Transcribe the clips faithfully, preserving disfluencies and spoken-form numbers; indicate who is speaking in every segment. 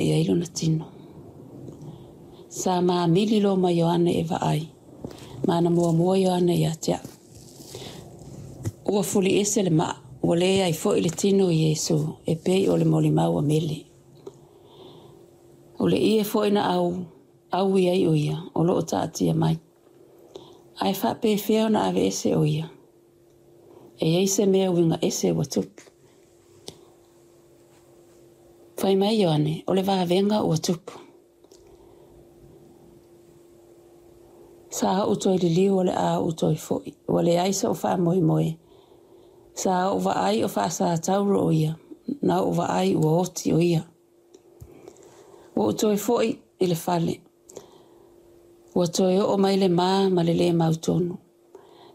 Speaker 1: i ai lona tino. Sa mamili loa ma Ioane e vaai, ma na muamua Ioane ia te a'u. Ua fuliese le maa, ua leai foi le tino o Iesu e pei o le molimau a Meli. O le ie foi na au, aui ai o ia, o loo taatia mai. Ae faapefea ona aveese o ia. E i ai se mea uiga ese ua tupu. Fai mai Ioane, o le vavega ua tupu. Sa ou toe liliu o le a ou toe foi, ua leai so'u faamoemoe. Sa ou vaai o faasatauro o ia, na ou vaai ua oti o ia. Ua ou toe foi i le fale. Ua toe oo mai le ma ma le lē mautonu.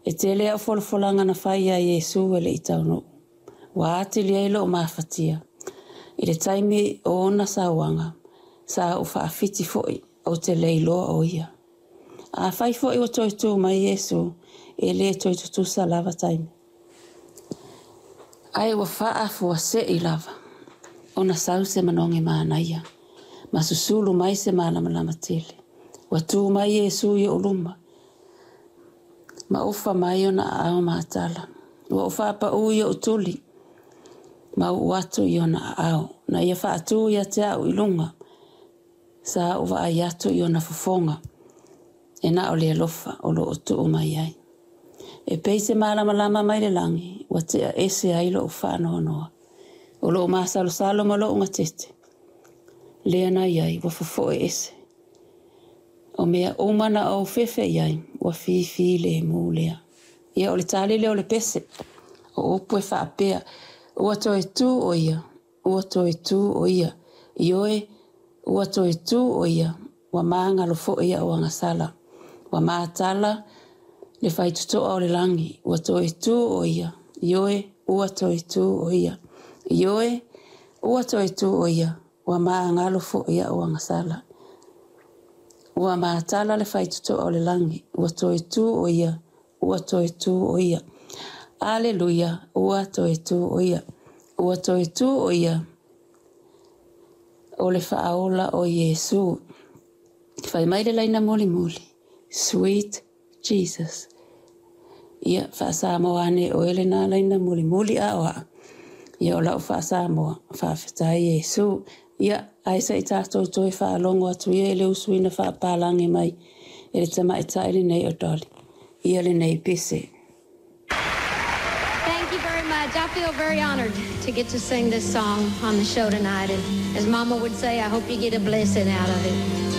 Speaker 1: E tele au folafolaga na fai ia Iesu e le i taunuu. Ua atili ai lou mafatia. I le taimi o ona sauaga, sa ou faafiti foi ou te le iloa o ia. Afai foi ua toe tu mai Iesu, e le toe tutusa lava taimi. Ae ua faafuasei lava ona sau se manogi manaia ma susulu mai se malamalama tele. Ua tu mai Iesu i ou luma ma ofa mai ona aao matala. Ua ou faapaū i ou tuli ma uu atu i ona aao. Na ia faatū ia te au i luga. Sa ou vaai atu i ona fofoga e na o le alofa o loo tuu mai ai. E pei se malamalama mai le lagi, ua tea ese ai lou faanoanoa. O lou masalosalo ma lou gatete, lea na i ai ua fofoe ese. O mea uma na ou fefe i ai, ua fifilemu lea. Ia o le tali lea o le pese. O upu e faapea, ua toe tu o ia, ua toe tu o ia. Ioe, ua toe tu o ia, ua magalo foi a'u agasala. Ua matala le faitotoa o le lagi, ua toe tu o ia. Ioe, ua toe tu o ia. Ioe, ua toe tu o ia, ua magalo foi a'u agasala. Ua matala le faitotoa o le lagi, ua toe tu o ia, ua toe tu o ia. Aleluia, ua toe tu o ia. Ua toe tu o ia, o le faaola o Iesu. Fai mai le laina mulimuli, Sweet Jesus. Ia, faa-Samoa ane oe lena laina mulimuli a o aa. Ia o lau faa-Samoa, faafetai Iesu. Ia, ae se i tatou toe faalogo atu ia i le usuina faapalagi mai e le tamaitai lenei o Dolly. Ia lenei pese.
Speaker 2: Thank you very much. I feel very honored to get to sing this song on the show tonight. And as Mama would say, I hope you get a blessing out of it.